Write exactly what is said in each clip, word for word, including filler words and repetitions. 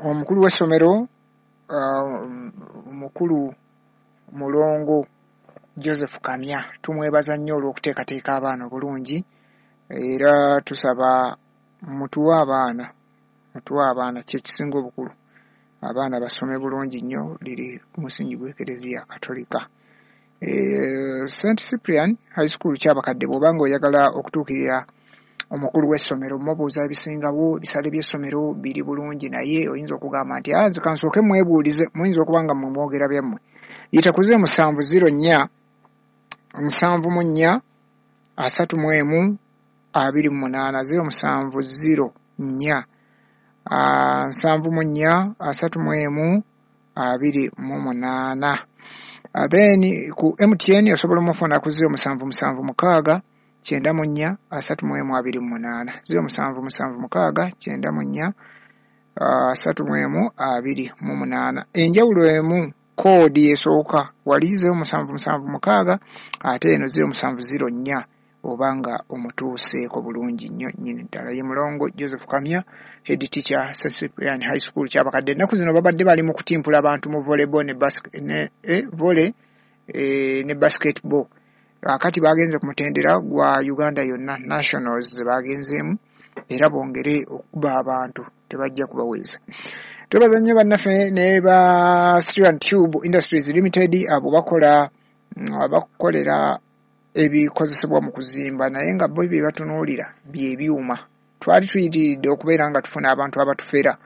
Omukulu w'essomero, omukulu Mulongo Joseph Kamya, tumwebaza nnyo olw'okuteekateeka abaana obulungi, era tusaba mutuwe abaana, mutuwe abaana, kyekisinga obukulu, abaana basome bulungi nnyo. Liri ku musingi gw'Ekereziya Katolika. Saint Cyprian High School Kyabakadde, bw'oba ng'oyagala okutuukirira omukulu w'essomero mubuuza ebisingawo, ebisale by'essomero biri bulungi, naye oyinza okugamba nti nze kansooke mwebuulize, muyinza okuba nga mmwe mwogera byammwe. Yita ku zero musanvu zero nnya nsanvu mu nnya asatu mu emu abiri mu munaana, zero musanvu zero nnya nsanvu mu nnya asatu mu emu abiri mu munaana. Then ku M T N osobola omufuna ku zero musanvu musanvu mukaaga kyenda mu nnya asatu mu emu abiri mu munaana, zero musanvu musanvu mukaaga kyenda mu nnya asatu mu emu abiri mu munaana. Enjawulo emu koodi esooka wali zero musanvu musanvu mukaaga, ate eno zero musanvu zero nnya, obanga omutuuseeko bulungi nnyo nnyini ddala. Ye Mulongo Joseph Kamya, head teacher, Saint Cyprian High School Kyabakadde. Ennaku zino babadde bali mu kutimpula abantu mu volleyball ne basket, ne eh, volley eh, ne basketball. Akati bagenze ku mutendera gwa Uganda yonna, nationals ze bagenzeemu, era bongere okuba abantu tebajja kubaweeza. Twebaza nnyo bannaffe ne ba Steel and Tube Industries Limited, abo bakola abakolera ebikozesebwa mu kuzimba, naye nga bo bye batunuulira by'ebyuma. Twali tuyitiridde okubeera nga tufuna abantu abatufera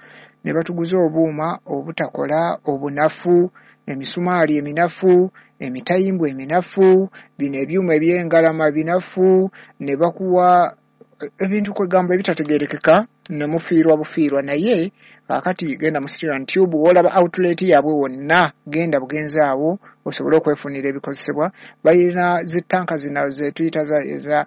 ne batuguza obuuma obutakola, obunafu, emisumaali eminafu, emitayimbwa eminafu, bino ebyuma eby'engalama binafu, ne bakuwa ebintu kwegamba ebitategeerekeka ne mufiirwa bufiirwa. Naye kaakati genda mu Steel and Tube, w'olaba outlet yaabwe wonna, genda bugenzi awo osobole okwefunira ebikozesebwa. Balina zittanka zino ze tuyita eza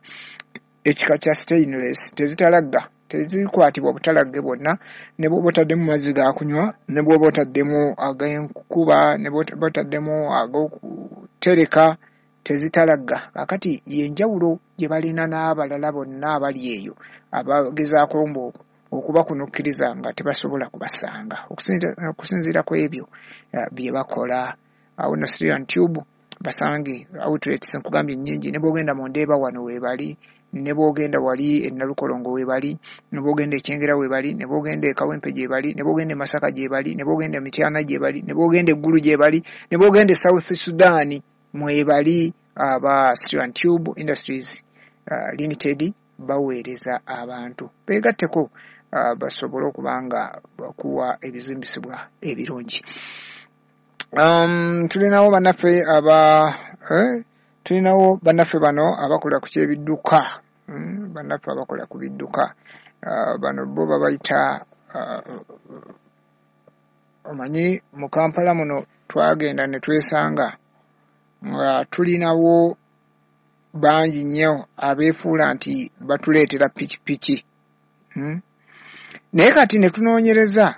ekika kya stainless, tezitalagga, tezikwatibwa butalagge bwonna, ne bw'oba otaddemu mazzi ga kunywa, ne bw'oba otaddemu ag'enkuba, ne bw'oba otaddemu ag'okutereka, tezitalagga. Kaakati y'enjawulo gye balina n'abalala bonna abali eyo abagezaako mbu okubakunukkiriza nga tebasobola kubasanga okusinziira ku ebyo bye bakola. Awo nno Steel and Tube basange outlets nkugambye nnyingi, ne bw'ogenda mu Ndeeba wano weebali, ne bw'ogenda wali e Nalukolongo weebali, ne bw'ogenda e Kyengera weebali, ne bw'ogenda e Kawempe gye bali, ne bw'ogenda e Masaka gye bali, ne bw'ogenda e Mityana gye bali, ne bw'ogenda e Gulu gye bali, ne bw'ogenda e South Sudan mwebali. Aba Steel and Tube Industries uh, Limited baweereza abantu beegatteko uh, basobole okuba nga bakuwa ebizimbisibwa ebirungi. Um, tulinawo bannaffe aba eh, tulinawo bannaffe bano abakola ku ky'ebidduka, mm, bannaffe abakola ku bidduka, uh, bano bo babayita uh, omanyi mu Kampala muno twagenda ne twesanga nga tulinawo bangi nnyo abeefuula nti batuleetera pikipiki, hmm? Naye kati ne tunoonyereza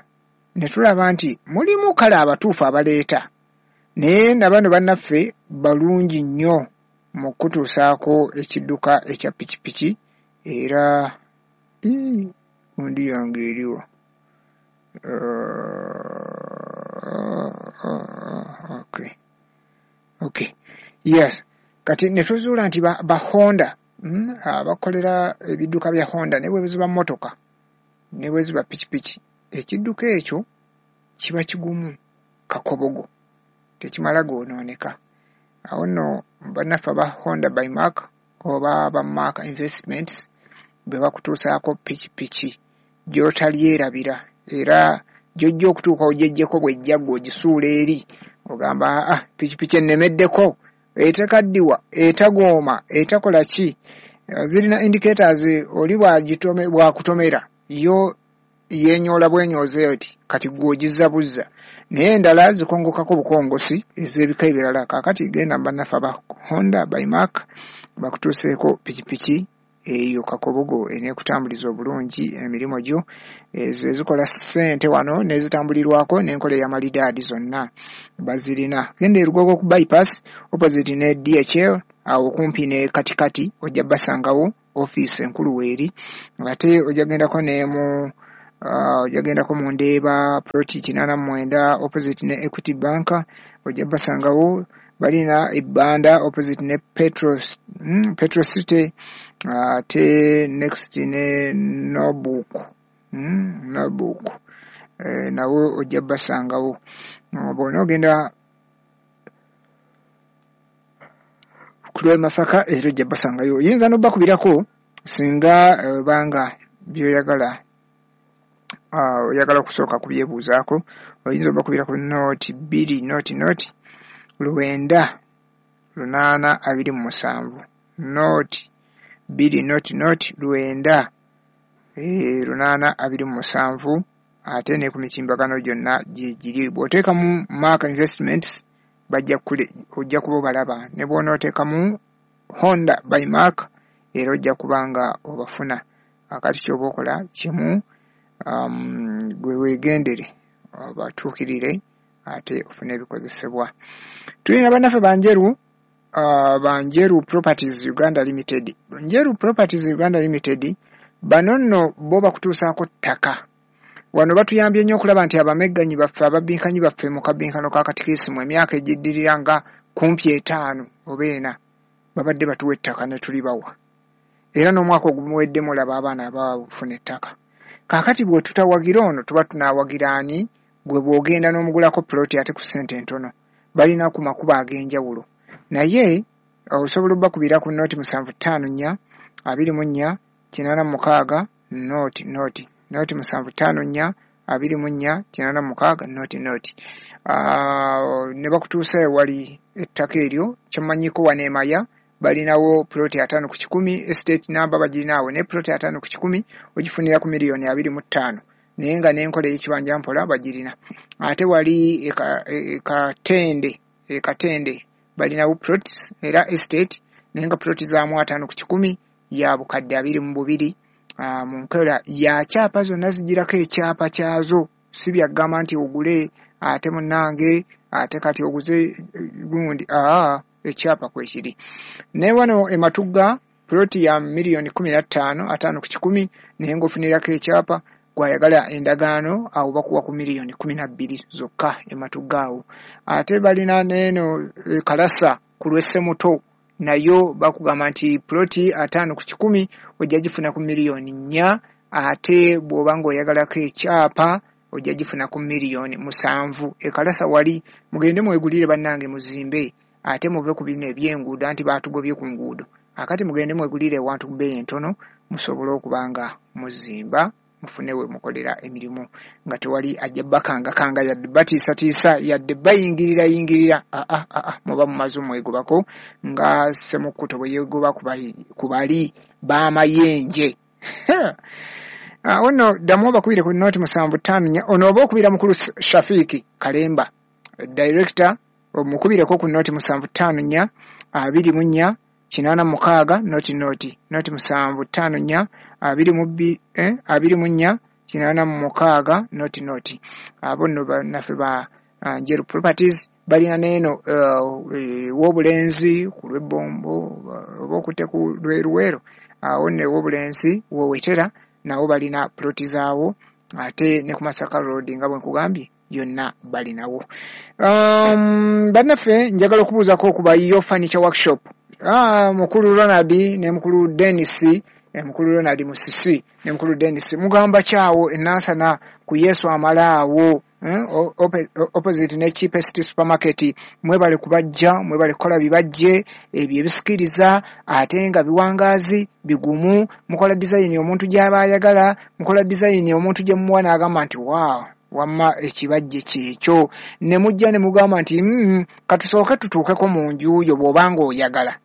ne tulaba nti mulimu kale abatuufu abaleeta, naye na bano bannaffe balungi nnyo mu kutuusaako ekidduka ekya pikipiki. Era gundi yange eriwa? Okay. Okay. Yes. Kati ne tuzuula nti ba, ba Honda, mm, abakolera ebidduka bya Honda ne bwe ziba mmotoka ne bwe ziba pikipiki, ekidduka ekyo kiba kigumu kakobogo, tekimala goonooneka. Awo nno bannaffe aba Honda by Mark oba ba Mark Investments bwe bakutuusaako pikipiki gy'otalyerabira, era gy'ojja okutuuka ogyeggyeko bw'ejja ggwe ogisuula eri ogamba ah, pikipiki ennemeddeko, etekaddiwa, etagooma, etakola ki. Zirina indicators, oli bw'akutomera yo yeenyoola bwenyooze oti kati ggwe ogizza buzza, naye endala zikongokako bukongosi ez'ebika ebirala. Kaakati genda mu bannaffe aba Honda by Mark bakutuuseeko pikipiki eyo kakobogo eneekutambuliza obulungi emirimu gyo, ezo ezikola ssente wano n'ezitambulirwako n'enkola ey'amalidaadi zonna bazirina. Genda e Lugogo ku bypass opposite ne D H L awo kumpi ne katikati ojja basangawo ofiisi enkulu weeri, ate ojja gendako ne mu Ojja gendako mu Ndeeba ploti kinaana mu mwenda opposite ne Equity Bank, ojja basangawo. Balina ebbanda opposite ne Petro, mm, Petro City, ate next ne Nobuk, mm, Nobuk e, nawo ojja basangawo. Bw'ona ogenda ku lw'e Masaka era ojja basangayo. Oyinza n'obbakubirako singa obanga by'oyagala oyagala okusooka kubyebuuzaako, oyinza obbakubirako nooti bbiri nooti nooti lwenda lunaana abiri mu musanvu, nooti bbiri nooti nooti lwenda lunaana abiri mu musanvu, ate ne ku mitimbagano gyonna gye giri. Bw'oteekamu Mark Investments bajja kule ojja kuba obalaba, ne bw'onooteekamu Honda by Mark era ojja kuba nga obafuna. Akati ky'oba okola kimu, um, gwe weegendere obatuukirire ate ofune ebikozesebwa. Tulina bannaffe Banjeru, uh, Banjeru Properties Uganda Limited. Njeru Properties Uganda Limited bano nno bo bakutuusaako ttaka. Wano batuyambye nnyo okulaba nti abamegganyi baffe, ababinkanyi baffe mu kabinkano ka katikisimu emyaka egiddirira nga kumpi etaano oba ena babadde batuwa ettaka ne tulibawa, era n'omwaka ogumuwedde mulaba abaana abafuna ettaka. Kaakati bwe tutawagira ono tuba tunaawagira ani? Gwe bw'ogenda n'omugulako ploti ate ku ssente entono, balina ku makubo ag'enjawulo, naye osobola obbakubira ku nooti musanvu ttaano nnya abiri mu nnya kinaana mu mukaaga nooti nooti nooti musanvu ttaano nnya abiri mu nnya kinaana mu mukaaga nooti nooti, ne bakutuusa ewali ettaka eryo. Kyemmanyiko wano e Maya balinawo ploti ataano ku kikumi, estate namba bagirinaawo, ne ploti ataano ku kikumi ogifunira ku miliyoni abiri mu ttaano, naye nga n'enkola ey'ekibanja mpola bagirina. Ate wali e Katende, e Katende balinawo plots era estate, naye nga ploti zaamu ataano ku kikumi ya bukadde abiri mu bubiri, mu nkola ya kyapa, zonna zigirako ekyapa kyazo, si byagamba nti ogule ate munnange ate kati oguze gundi, aa ekyapa kwekiri. Naye wano e Matugga ploti ya miliyoni kumi na ttaano ataano ku kikumi, naye ng'ofunirako ekyapa. Gwayagala endagaano awo bakuwa ku miliyoni kumi na bbiri zokka e Matugga awo. Ate balina n'eno Kalasa ku lw'Essemuto, nayo bakugamba nti ploti ataano ku kikumi ojja gifuna ku miliyoni nnya, ate bw'oba ng'oyagalako ekyapa ojja gifuna ku miliyoni musanvu. E Kalasa wali mugende mwegulire bannange, muzimbe, ate muve ku bino eby'enguudo anti baatugobye ku nguudo. Akati mugende mwegulire ewantu ku bbeeyi entono musobole okuba nga muzimba, mufune we mukolera emirimu nga tewali ajja bakangakanga yadde batiisatiisa yadde bayingirira yingirira. Aa aa muba mumaze omwegobako nga Ssemukuto bwe yeegoba ku bali b'amayenje. Ono ddamu obakubire ku nooti musanvu ttaano nnya, ono oba okubira mukulu Shafiiki Kalemba director, omukubireko ku nooti musanvu ttaano nnya abiri mu nnya kinaana mukaaga nooti nooti nooti musanvu ttaano nnya abiri mu bbi eh, abiri mu nnya kinaana mu mukaaga nooti nooti. Abo nno bannaffe ba uh, Njeru Properties balina n'eno Wobulenzi ku lw'Ebbombo oba okutte ku lw'Eruweero, awo nno Wobulenzi w'owetera nabo balina ploti zaawo, ate ne ku Masaka Road nga bwe nkugambye yonna balinawo. Um, bannaffe njagala okubuuzako ku ba Yo Furniture Workshop. Ah, mukulu Ronald ne mukulu Dennis, eh, mukulu Ronald Musisi ne mukulu Dennis mugamba kyawo enansana ku Yesu amalaawo, eh, opposite ne cheapest supermarket. Mwebale kubajja, mwebale kukola bibajje ebyo ebisikiriza ate nga biwangaazi bigumu. Mukola design omuntu gy'aba ayagala, mukola design omuntu gye muwa n'agamba nti wow, wamma ekibajje kyekyo, ne mujja ne mugamba nti mm, katusooke tutuukeko mu nju yo bw'obanga oyagala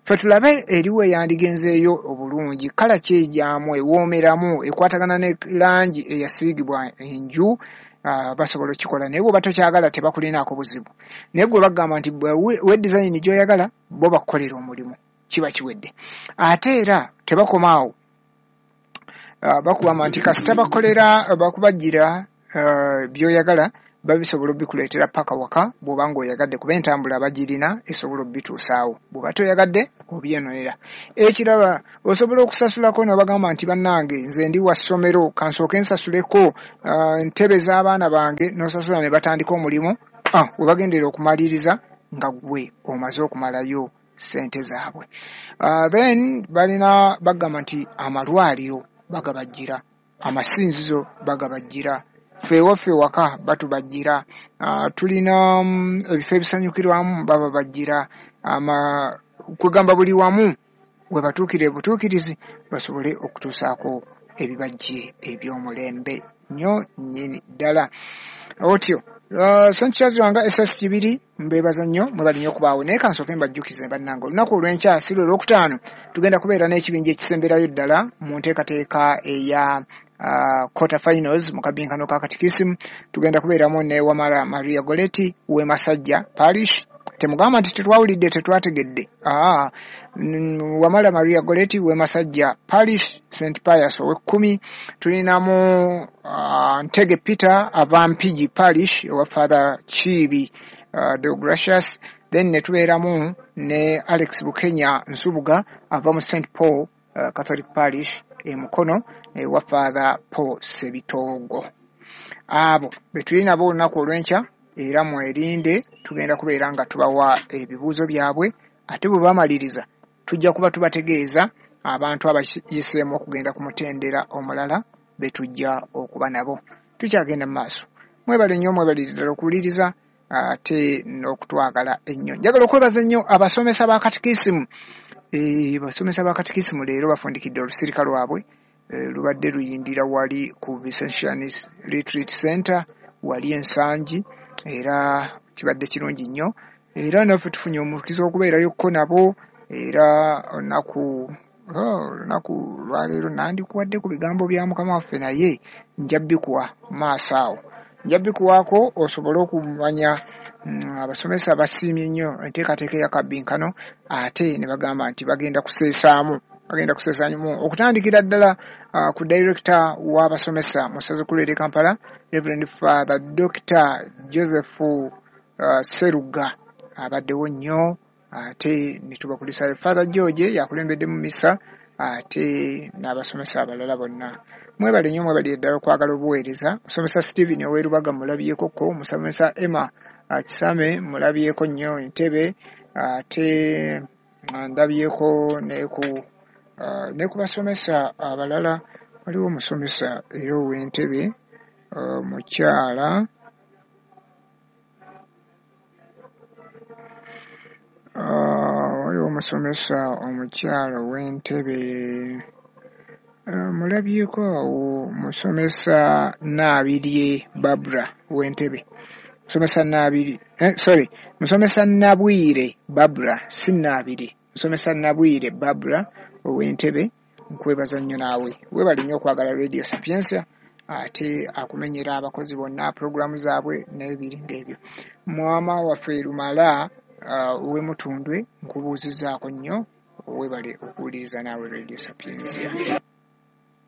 ffe tulabe eriwo eyandigenzeeyo obulungi, kala kyejaamu ewoomeramu ekwatagana ne langi eyasiigibwa enju. Uh, basobola okikola, naye bw'oba tokyagala tebakulinaako buzibu, naye gwe bagamba nti we design gy'oyagala bo bakukolera omulimu, kiba kiwedde. Ate era tebakoma awo, uh, bakugamba nti kasita bakolera bakubajjira uh, by'oyagala, Babisobola obikuleetera paka waka bw'oba ng'oyagadde, kuba entambula bagirina esobola obituusaawo. Bw'oba toyagadde obyenonera. Ekirala, osobola okusasulako n'obagamba nti bannange nze ndi wa ssomero, kansooke nsasuleko uh, ntebe z'abaana bange, n'osasula ne batandika omulimu. Ah, we bagendera okumaliriza nga ggwe omaze okumalayo ssente zaabwe. Uh, then balina bagamba nti amalwaliro bagabajjira, amasinzizo bagabajjira, ffe ewaffe waka batubajjira, uh, tulina um, ebifo ebisanyukirwamu bababajjira, ama kwegamba buli wamu we batuukira obutuukirizi basobole okutuusaako ebibajje eby'omulembe nnyo nnyini ddala. Otyo Uh, Saint Charles Lwanga S S Kibiri mbeebaza nnyo, mwebale nnyo okubaawo. Naye kansooke mbajjukize bannange, olunaku olw'enkya si lwe Lwokutaano tugenda kubeera n'ekibinja ekisemberayo ddala mu nteekateeka eya uh, quarter finals mu kabinkano ka katikisimu. Tugenda kubeeramu ne Wamala Maria Goretti w'e Masajja Parish. Temugamba nti tetwawulidde, tetwategedde. Ah, Wamala Maria Goretti w'e Masajja Parish, Saint Pius ow'ekkumi. Tulinamu uh, Ntege Peter ava Mpigi Parish owa Father Kiibi uh, Deogracious. Then ne tubeeramu ne Alex Bukenya Nsubuga ava mu Saint Paul uh, Catholic Parish e Mukono ewa Father Paul Sebitogo. Abo be tuli nabo olunaku olw'enkya, era mwerinde, tugenda kubeera nga tubawa ebibuuzo byabwe, ate bwe bamaliriza tujja kuba tubategeeza abantu abayiseemu okugenda ku mutendera omulala be tujja okuba nabo. Tukyagenda mu maaso. Mwebale nnyo, mwebalire ddala okuwuliriza ate n'okutwagala ennyo. Njagala okwebaza ennyo abasomesa ba katikisimu. Eh, abasomesa ba katikisimu leero bafundikidde olusirika lwabwe, eh, lubadde luyindira wali ku Vincentian Retreat Center wali Ensangi, era kibadde kirungi nnyo, era naffe tufunye omukisa okubeerayokko nabo. Era olunaku olunaku lwaleero nandikuwadde ku bigambo bya Mukama waffe, naye nja bikuwa maaso awo, nja bikuwaako osobole okumanya. Abasomesa basiimye nnyo enteekateeka eya kabinkano, ate ne bagamba nti bagenda kuseesaamu, bagenda kuseesaamu okutandikira ddala uh, ku director w'abasomesa mu ssaza ekkulu ery'e Kampala, Reverend Father Doctor Joseph uh, Seruga abaddewo nnyo, ate ne tubakulisaayo Father George yakulembedde mu misa, ate n'abasomesa abalala bonna. Mwebale nnyo, mwebalire ddala okwagala obuweereza. Musomesa Stephen Owerubaga mulabyekoko, musomesa Emma Kisame mulabyeko nnyo Entebbe, ate ndabyeko ne ku uh, ne ku basomesa abalala. Waliwo omusomesa era ow'Entebbe uh, mukyala uh, waliwo omusomesa omukyala ow'Entebbe uh, mulabyeko awo, musomesa Naabirye Barbara ow'Entebbe, musomesa Naabiri eh, sorry musomesa Nabwire Barbara, si Naabiri, musomesa Nabwire Barbara ow'Entebbe, nkwebaza nnyo naawe. Weebale nnyo okwagala Radio Sapientia, ate akumenyera abakozi bonna pulogulaamu zaabwe n'ebiri ng'ebyo. Mwama waffe Lumala ow'e Mutundwe nkubuuzizzaako nnyo, weebale okuwuliriza naawe Radio Sapientia.